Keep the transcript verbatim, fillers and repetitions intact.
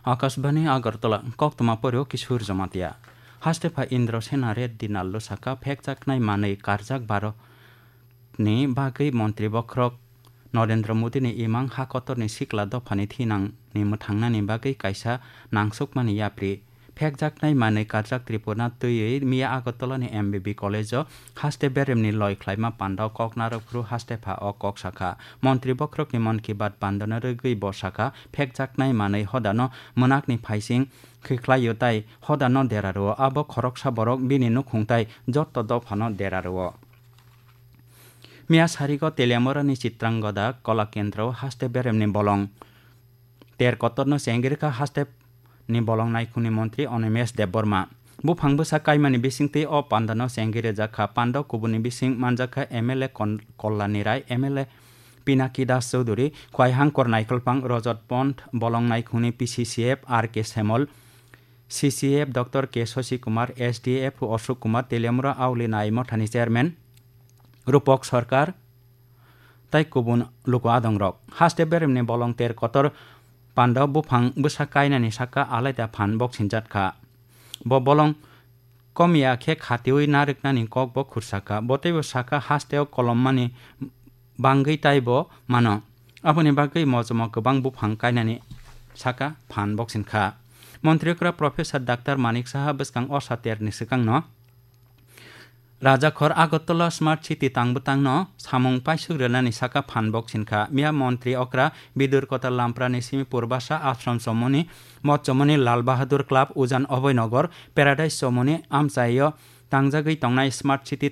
Akashbani Agartala, koktwma porio Kishore Jamatia. Hastepha Indra Sena Reddy Nallo saka phekjaknai manwi karjak baro ni bagwi montri bokhorok Narendra Modi ni imang ha kotor ni sikla dopha ni thinang ni mwthangnani bagwi kaisa nangsukmani yapri. Phekjaknai manwi karjak Tripura twiwi miya Agartala ni M B B college o haste berem ni loi khlaima panda o kok narwk phuru hastepha o kok sakha. Montri bokhorok ni Mann Ki Baat panda no rwgwi bo sakha, phekjaknai manwi hodano mwnakni phaising khikhlaio tai hodano dera rwo. Abo khoroksa borok bini nukhung tai jotto dophano dera rwo. Miya sarigo Teliamura ni Chitrangoda Kola Kendra o haste berem ni bolong ter kotor no chengirikha haste ni bolong naikhung ni montri Animesh Debbarma. Buphang bwsa kaimani bisingtwi o panda no chengwi rwjakha. Panda o kubuni bising manjakha M L A Kon-, Kollani Rai, M L A Pinaki Das Chowdhury, Khwaihangkor Naikolphang, Rajat Pond, bolong naikhungni P C C F R K Semol, C C F Doctor K Shashi Kumar, S D F Ashok Kumar, Teliamura Auli Nai Mothani Chairman Rupak Sarkar, tai kubun luku adongrok. Haste beremni bolong ter kotor panda buphang bwsa kainani saka alaida phan boksinjak kha. Bo bolong komiya khe khatiwi narwknani kok bo khursa kha. Bo teibo saka hasteo kolommani bangwi taibo mano. Aboni bagwi mojomo kwbang buphang kainani saka phan boksin kha. Montri okra Professor Doctor Manik Saha bwskang o saterni swkangno Rajakhor Agartala Smart City tang bwtangno samung paisuk rwnani saka phan boksin kha. Miya montri okra Bidur Kotal Lamprani simi Purbasa Ashram Chomoni, Mot Chomoni, Lal Bahadur Club, Ujan Abhoy Nagar, Paradise Chomoni amchaio tangjagwi tongnai Smart City